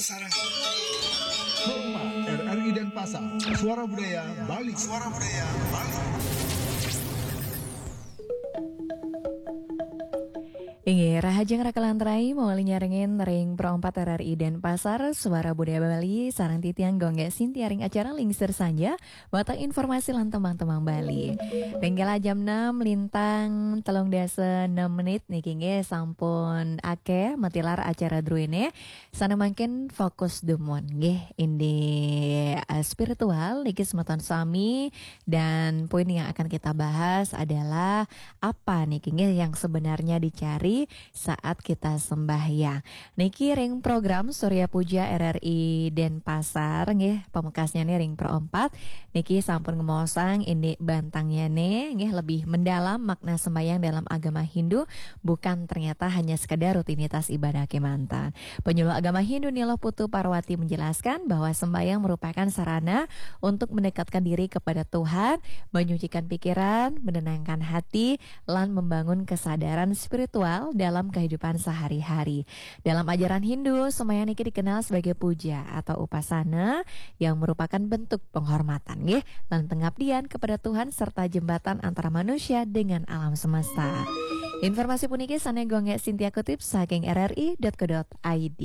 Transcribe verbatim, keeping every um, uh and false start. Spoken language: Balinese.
Sarang. Pro empat, R R I Denpasar, Suara Budaya Bali. Suara Budaya Bali. Inggih, rahajeng raka lan rai, mawali nyarengin ring Pro empat R R I Denpasar, Suara Budaya Bali, sareng titiang Gung Gé Sintia ring acara Lingsir Sanja, wantah informasi lan tembang-tembang Bali. Ring kala jam enam lintang telung dasa enam menit niki nggih sampun akéh matilar acara druéné, sané mangkin fokus dumun nggih indik, eh, spiritual niki semeton sami, dan poin yang akan kita bahas adalah apa niki nggih yang sebenarnya dicari saat kita sembahyang. Niki ring program Surya Puja R R I Denpasar nggih, pamekasnya nih ring Pro empat. Niki sampun ngemaosang indik bantangnya nih nggih, lebih mendalam makna sembahyang dalam agama Hindu, bukan ternyata hanya sekadar rutinitas ibadah kémanten. Penyuluh agama Hindu Ni Luh Putu Parwati menjelaskan bahwa sembahyang merupakan sarana untuk mendekatkan diri kepada Tuhan, menyucikan pikiran, menenangkan hati, lan membangun kesadaran spiritual dalam kehidupan sehari-hari. Dalam ajaran Hindu, sembahyang niki dikenal sebagai puja atau upasana yang merupakan bentuk penghormatan nggih, lan pengabdian kepada Tuhan serta jembatan antara manusia dengan alam semesta. Informasi puniki sané Gung Gé Sintia kutip saking R R I dot co dot I D.